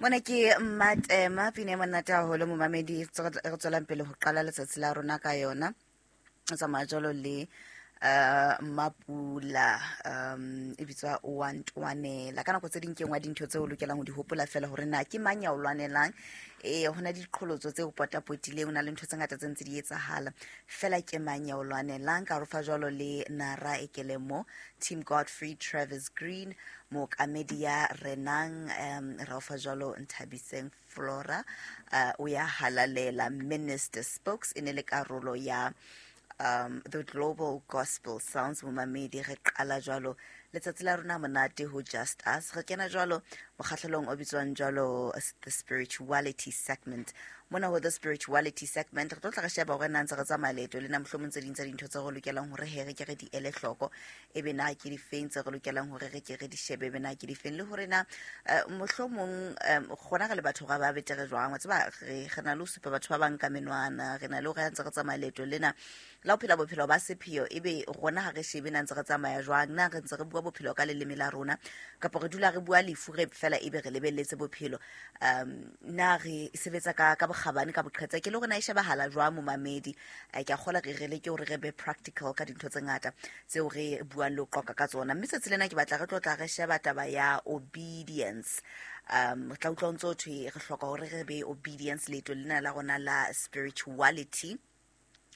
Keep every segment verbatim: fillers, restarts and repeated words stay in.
Mona ke Mmatema, pina e monate haholo momamedi, re tswelang pele ho qala letsatsi la rona ka yona. O tsamaya jwalo le uh Mapula, um e bitswa o ntwanela. Ka nako tse ding ke nngwe ya dintho tseo o lokelang ho di hopola fela hore na ke mang ya o lwanelang. Eh ho na diqholotso tse o potapotileng, ho na le ntho tse ngata tse ntse di etsahala. Fela ke mang ya o lwanelang? Ka rofa jwalo le Nara Ekelemo, Team Godfrey, Travis Green, mookamedi ya renang, um ra ofa jwalo Nthabiseng Flora, uh, o ya halalela. Minister Spokes e ne le karolo ya um the Global Gospel Sounds. Momamedi, re qala jwalo letsatsi la rona monate ho Just Us. Re kena jwalo mokgahlelong o bitswang jwalo the spirituality segment. Mona ho the spirituality segment re tlo tla re sheba hore na ntse re tsamaya leeto lena, mohlomong tse ding tsa dintho tse re lokelang hore he re ke re di ele hloko, ebe na ke difeng tse re lokelang hore re ke re di shebe, ebe na ke difeng, le hore na eh, mohlomong um rona re le batho ra ba betere jwang. Wa tseba, re re na le ho supa batho ba bang ka menwana, re na le hore ha ntse re tsamaya leeto lena la ho phela bophelo ba sepheo, ebe rona ha re shebe na ntse re tsamaya jwang, na re ntse re bua bophelo ka leleme la rona kapa re dula re bua lefu re fela ebe re lebelletse bophelo. um na re sebetsa ka ka bokgabane, ka boqhetseke, le hore na e shebahala jwang momamedi. Eh, ke a kgola re re leke hore re be practical ka dintho tse ngata tseo re buang le ho qoqa ka tsona. Mme tsatsi lena ke batla re tlo tla re sheba taba ya obedience. um re tla utlwa ho ntso ho thwe re hloka hore re be obedience leeto lena la rona la spirituality,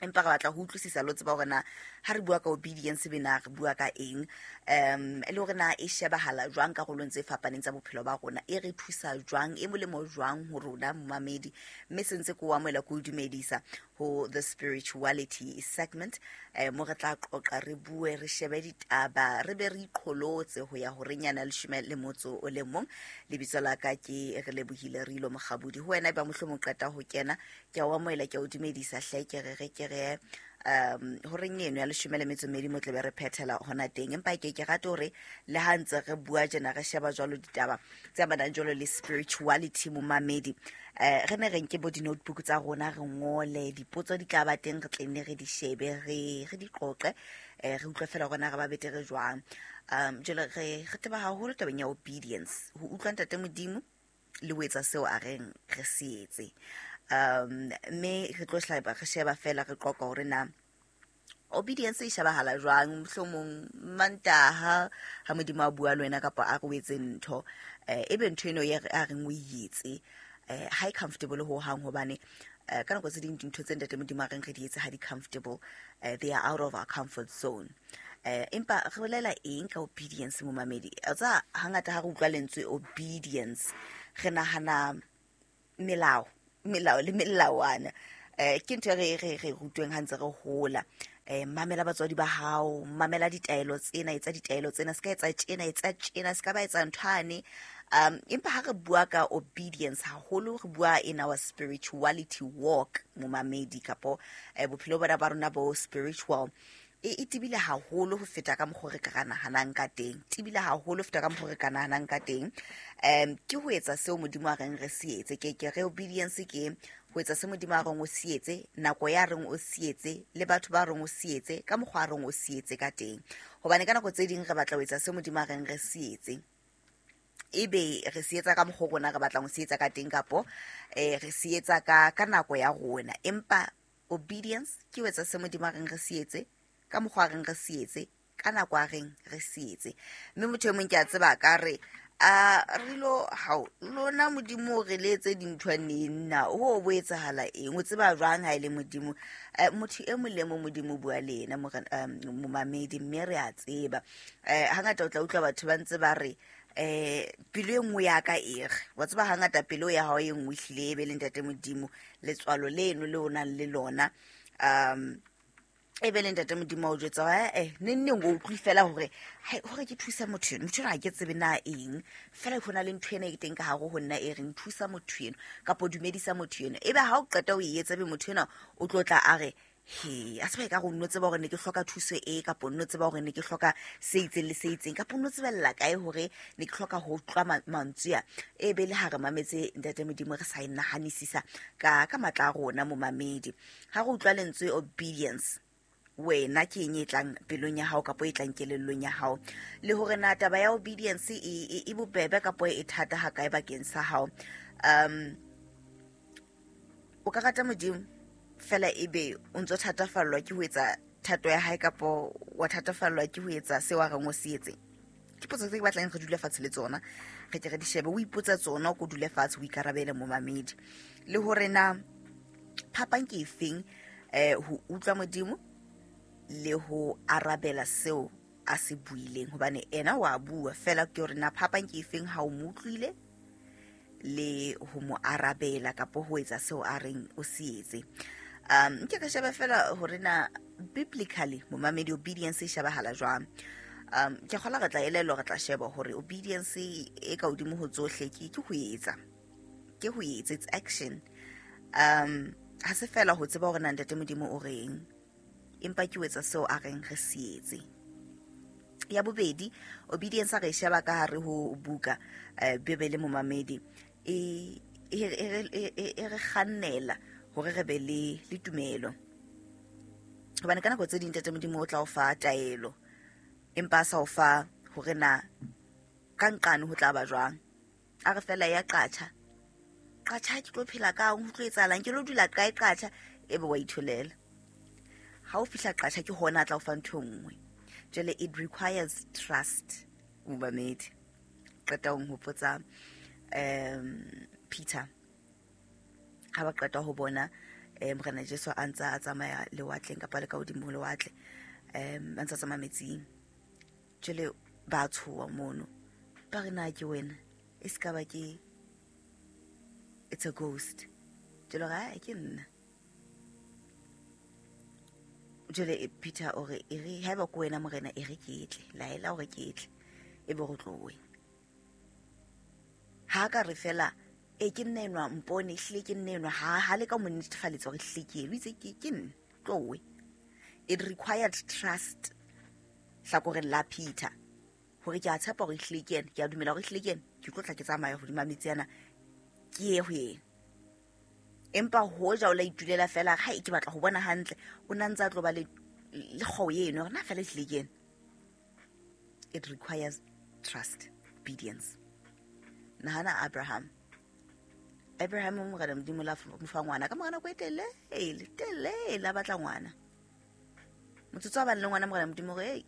empa re batla ho utlwisisa le ho tseba hore na ha re bua ka obedience be na re bua ka eng, um le hore na e shebahala jwang karolong tse fapaneng tsa bophelo ba rona, e re thusa jwang, e molemo jwang ho rona momamedi. Mme se ntse ke o amohela, ke o dumedisa ho the spirituality segment, eh, mo re tla qoqa, re bue, re shebe ditaba, re be re iqholotse ho ya horeng yana leshome le motso o le mong. Lebitso la ka ke re lebohile Rilo Mokgabudi. Ho wena e ba mohlomong qeta ho kena, ke a o amohela, ke a o dumedisa hle, ke re re ke re um horeng eno ya leshome le metso mmedi mo tlabe re phethela hona teng. Empa ke ke rate hore le ha ntse re bua tjena, re sheba jwalo ditaba tse amanang jwalo le spirituality momamedi, eh re ne re nke bo di-notebook tsa rona, re ngole dipotso, di tla ba teng, re tle nne re di shebe, re re di qoqe, eh re utlwe fela hore na re ba betere jwang. um jwale re re teba haholo tabeng ya obedience, ho utlwa ntate Modimo le ho etsa seo a reng re se etse. um mme re tlo hlaba re sheba fela, re qoqa hore na obedience e shebahala jwang. Mohlomong Mantaha ha Modimo a bua le wena kapa a re o etse ntho, eh ebe ntho eno ye a reng o e etse, eh ha e comfortable ho hang, hobane eh, ka nako tse ding dintho tse ntate Modimo a reng re di etse ha di comfortable, eh, they are out of our comfort zone. eh empa re bolela eng ka obedience momamedi? Tsa hangata ha re utlwa lentswe obedience, re nahana melao, melao le melawana. eh ke ntho e re re re rutweng ha ntse re hola. eh mamela batswadi ba hao, mamela ditaelo tsena, etsa ditaelo tsena, se ka etsa tjena, etsa tjena, se ka ba etsa nthwane. um empa ha re bua ka obedience haholo, re bua in our spirituality walk momamedi, kapo eh, bophelo bona ba rona bo spiritual, e e tebile haholo ho feta ka mokgwa re ka nahanang ka teng, tebile haholo ho feta ka mokgwa re ka nahanang ka teng. um ke ho etsa seo Modimo a reng re se etse. Ke ke re obedience ke ho etsa se Modimo a reng o se etse, nako ya reng o se etse, le batho ba reng o se etse, ka mokgwa a reng o se etse ka teng. Hobane ka nako tse ding re batla ho etsa se Modimo a reng re se etse, ebe re se etsa ka mokgwa rona re batlang ho se etsa ka teng, kapo eh re se etsa ka ka nako ya rona. Empa obedience ke ho etsa se Modimo a reng re se etse, ka mokgwa a reng re se etse, ka nako a reng re se etse. Mme motho e mong ke a tseba ka re a rilo hao lona Modimo re le etse dintho neng na ho bo etsahala eng, o tseba jwang ha e le Modimo? Eh, motho e mong le mong Modimo o bua le yena momamedi, mme re a tseba. eh hangata o tla utlwa batho ba ntse ba re eh pelo e nngwe ya ka e re, wa tseba hangata pelo ya hao e nngwe ehlile e be le ntate Modimo, letswalo leno le o nang le lona, um e be le ntate Modimo a o jwetsa hore eh neng neng o utlwe fela hore hai hore ke thusa motho eno, motho eno ha ke tsebe na eng, fela ho na le ntho ena e teng ka hare ho nna e reng thusa motho eno kapo dumedisa motho eno. Ebe ha o qeta o e etsa, be motho ena o tlo tla a re he a tseba e ka re o nno tseba hore ne ke hloka thuso e, kapo nno tseba hore ne ke hloka se itseng le se itseng, kapo nno tsebella kae hore ne ke hloka ho utlwa mantswe a. E be le ha re mametse ntate Modimo, re sa e nahanisisa ka ka matla a rona momamedi. Ha re utlwa lentswe obedience, Wena ke eng e tlang pelong ya hao kapo e tlang kelellong ya hao, le hore na taba ya obedience e e bobebe kapo e thata ha kae bakeng sa hao. Um o ka rata Modimo fela ebe o ntso thatafallwa ke ho etsa thato ya hae kapo wa thatafallwa ke ho etsa seo a reng o se etse. Ke potso tse ke batlang re dule fatshe le tsona, re ke re di shebe, o ipotsa tsona, o ko dule fatshe o ikarabele momamedi, le hore na phapang ke efeng eh ho utlwa Modimo le ho arabela seo a se buileng, hobane ena wa bua fela ke hore na phapang ke efeng ha o mo utlwile le ho mo arabela kapo ho etsa seo a reng o se etse. Um nke ka sheba fela hore na biblically momamedi obedience e shebahala jwang. Um ke kgola re tla elellwa, re tla sheba hore obedience e ka hodimo ho tsohle ke ke ho etsa, ke ho etsa, it's action. Um ha se fela ho tseba hore na Ntate Modimo o reng, empa ke ho etsa seo a reng re se etse. Ya bobedi, obedience a re sheba ka hare ho buka eh, Bibele momamedi, e e re kgannela hore re be le le tumelo, hobane ka nako tse ding Ntate Modimo o tla o fa taelo, empa a sa o fa hore na ka nqane ho tla ba jwang. A re fela ya qatjha qatjha ke tlo phela kang, ho tlo etsahalang, ke lo dula kae qatjha, ebe wa itholela. Ha o fihla qatjha ke hona a tla o fa ntho e nngwe. Jwale it requires trust momamedi. Qeta ho nhopotsa um Peter ha ba qeta ho bona eh Morena Jesu a ntsa a tsamaya lewatleng kapa le ka hodimo ho lewatle, um a ntsa tsamaya metsing. Jwale ba tshoha mono, ba re na ke wena, e se ka ba ke it's a ghost. Jwale ra ke nna. Jwale Peter o re e re haeba ke wena Morena, e re ke tle, laela hore ke tle, e be re tlowe. Ha ka re fela e ke nna enwa, mpone ehlile ke nna enwa, ha ha le ka mo netefaletsa hore ehlile ke eno, o itse ke ke nna, tlowe. It required trust hlakoreng la Peter hore ke a tshepa hore ehlile ke ena, ke a dumela hore ehlile ke ena, ke tlo tla ke tsamaya hodima metsi ana ke ye ho yena. Empa hoja o la itulela fela, ha ke batla ho bona hantle, o na ntse a tlo ba le le kgoo eno hore na fela ehlile ke ena. It requires trust, obedience. Nahana Abraham. Abraham o Morena Modimo la mo fa ngwana ka mora nako e telele, telele la batla ngwana. Motsotso wa bang le ngwana Morena Modimo re, ei,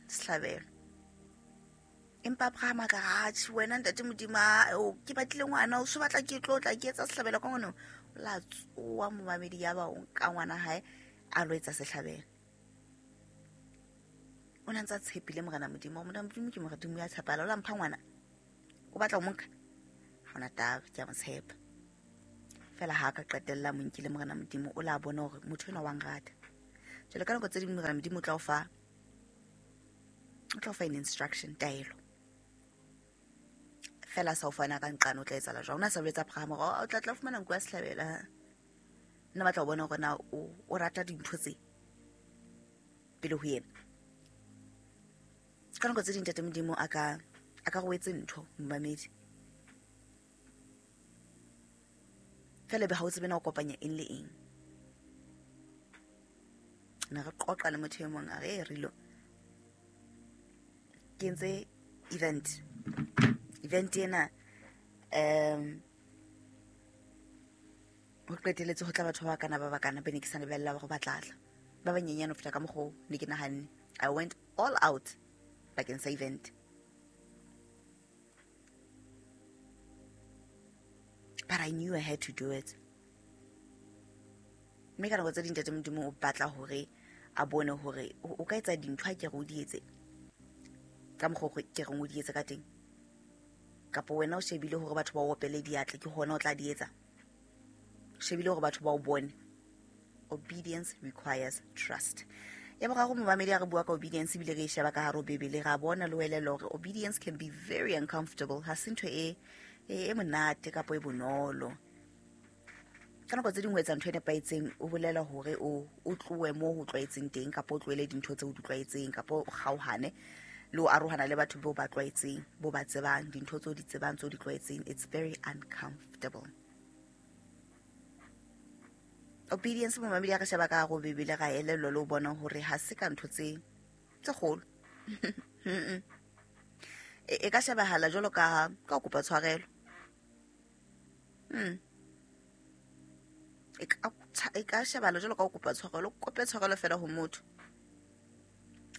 sehlabelo. Empa Abraham a ka re, atjhe wena Ntate Modimo, o ke batlile ngwana, o so batla ke tlo tla ke etsa sehlabelo ka ngwana. O la tsoha momamedi, ya ba o nka ngwana hae a lo etsa sehlabelo. O na ntse a tshepile Morena Modimo, Morena Modimo ke Modimo ya tshepala, o la mpha ngwana, o batla ho mo nka, ha hona taba, ke a mo tshepa. Fela ha ka qetella mo nkile Morena Modimo, o la bona hore motho enwa wa nrata. Jwale ka nako tse ding Morena Modimo o tla o fa, o tla o fa an instruction, taelo. Fela sa o fana ka nqane o tla etsahala jwang. O na sa boletse Abraham hore o tla tla fumana nku ya sehlabelo, ha. Nna batla ho bona hore na o, o rata dintho tse pele ho yena. Ka nako tse ding Ntate Modimo a ka, a ka go etse ntho momamedi, fela be ha o tsebe na o kopanya eng le eng. Ne re qoqa le motho e mong a re, Rilo, ke entse event. Event ena um ho qetelletse ho tla batho ba bakana ba bakana be ne ke sa lebella hore ba tla tla. Ba banyenyane ho feta ka mokgwa oo ne ke nahanne. I went all out bakeng sa event. But I knew I had to do it. Mme ka nako tse ding Ntate Modimo o batla hore a bone hore o ka etsa dintho ha ke re o di etse ka mokgwa o ke reng o di etse ka teng, kapa wena o shebile hore batho ba o opele diatla ke hona o tla di etsa, o shebile hore batho ba o bone. Obedience requires trust. Ya boraro momamedi, a re bua ka obedience ebile re e sheba ka hare ho Bibele, ra bona le ho elellwa hore obedience can be very uncomfortable. Ha se ntho e e monate kapa e bonolo. Ka nako tse ding ho etsa ntho e nepahetseng o bolela hore o o tlohe moo ho tlwaetseng teng, kapa o tlohele dintho tseo o di tlwaetseng, kapa o kgaohane le ho arohana le batho bao ba tlwaetseng, bo ba tsebang, dintho tseo di tsebang, tseo di tlwaetseng. It's very uncomfortable. Obedience momamedi, ha re sheba ka hare ho Bibele, ra elellwa le ho bona hore ha se ka ntho tse tse kgolo. E, e ka shebahala jwalo ka ka ho kopa tshwarelo. Mm. E ka e ka shebahala jwalo ka ho kopa tshwarelo, o kope tshwarelo fela ho motho.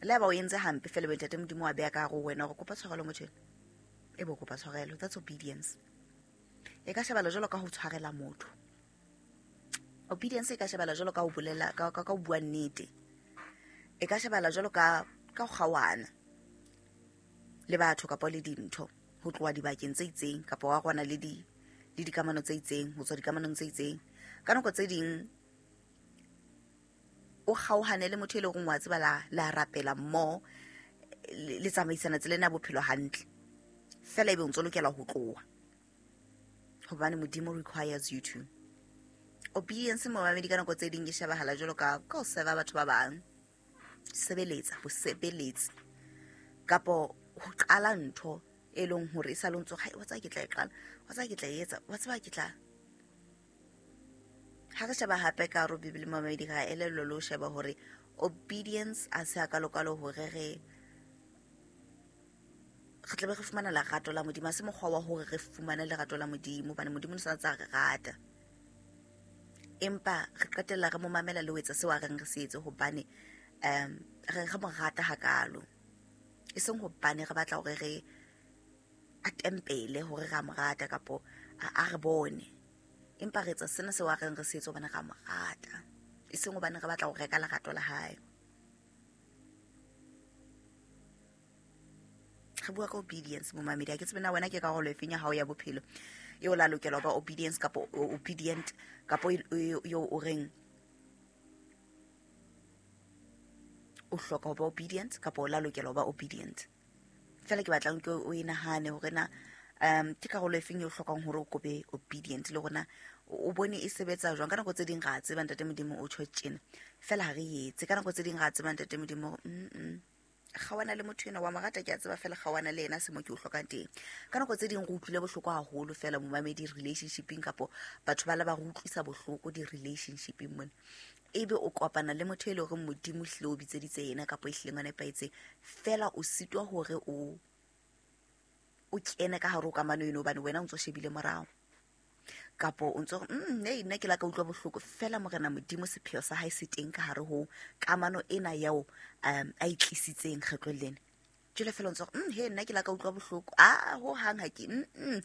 Le ha ba o entse hampe fela, be Ntate Modimo wa beha ka hare ho wena hore kopa tshwarelo motho enwa. E be o kopa tshwarelo. That's obedience. E ka shebahala jwalo ka ho tshwarela motho. Obedience e ka shebahala jwalo ka ho bolela, ka ka ka ho bua nnete. E ka shebahala jwalo ka ka ho kgaohana le batho kapa le dintho, ho tloha dibakeng tse itseng kapa wa rwana le di le dikamano tse itseng, ho tswa dikamanong tse itseng. Ka nako tse ding o kgaohane le motho e leng hore wa tseba la la rapela mmoho, le le tsamaisana tsela ena ya bophelo hantle. Feela ebe o ntso lokela ho tloha hobane Modimo requires you to. Obedience momamedi, ka nako tse ding e shebahala jwalo ka ka ho serve batho ba bang, sebeletsa, bosebeletsi, kapo ho qala ntho e leng hore e sa le o ntso re, wa tseba ke tla e qala, wa tseba ke tla e etsa, wa tseba ke tla. Ha re sheba hape ka hare ho Bibele momamedi, ra elellwa le ho sheba hore obedience a se hakalo-kalo hore re re tlabe re fumana lerato la Modimo. Ha se mokgwa wa hore re fumane lerato la Modimo, hobane Modimo o sa ntse a re rata. Empa re qetella re mo mamela le ho etsa seo a reng re se etse hobane um re re mo rata hakalo. E seng hobane re batla hore re a tempele hore ra mo rata kapo a, a re bone. Empa re etsa sena seo a reng re se etse hobane ra mo rata. E seng hobane re batla ho reka lerato la hae. Re bua ka obedience momamedi. Ha ke tsebe na wena ke karolo efeng ya hao ya bophelo eo la lokela ho ba obedience kapo obedient, kapo eo o reng o hloka ho ba obedient kapo o la lokela ho ba obedient. Feela ke batlang ke o e nahane hore na um ke karolo efeng eo o hlokang hore o kobe obedient, le hore na o bone e sebetsa jwang. Ka nako tse ding ra tseba Ntate Modimo o tjho tjena, feela ha re etse. Ka nako tse ding ra tseba Ntate Modimo hore mm kgawana le motho enwa wa mo rata, ke a tseba feela kgawana le yena se mo ke o hlokang teng. Ka nako tse ding re utlwile bohloko haholo feela momamedi relationshipeng, kapo batho ba le ba re utlwisa bohloko di-relationshipeng mona. Ebe o kopana le motho e leng hore Modimo ehlile o bitseditse yena kapo ehlileng o nepahetseng, feela o sitwa hore o o kene ka hare ho kamano eno hobane wena o ntso shebile morao. Kapo o ntso re, mm, hey, nna ke la ka utlwa bohloko. Feela Morena Modimo sepheo sa hae se teng ka hare ho kamano ena eo um a e tlisitseng kgetlong lena. Jwale feela o ntso re, mm, he, nna ke la ka utlwa bohloko. Ah, ho hang ha ke, mm, mm.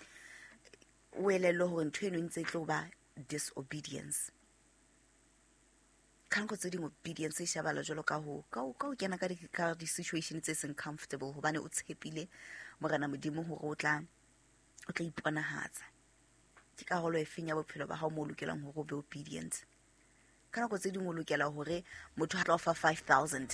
O elellwe hore ntho eno e ntse e tlo ba disobedience. Ka nako tse ding obedience e shebahala jwalo ka ho, ka ho, ka ho kena ka di, ka di-situation tse seng comfortable, hobane o tshepile Morena Modimo hore o tla, o tla iponahatsa. Ke karolo efeng ya bophelo ba hao moo o lokelang hore o be obedient? Ka nako tse ding o lokela hore motho ha tla o fa five thousand,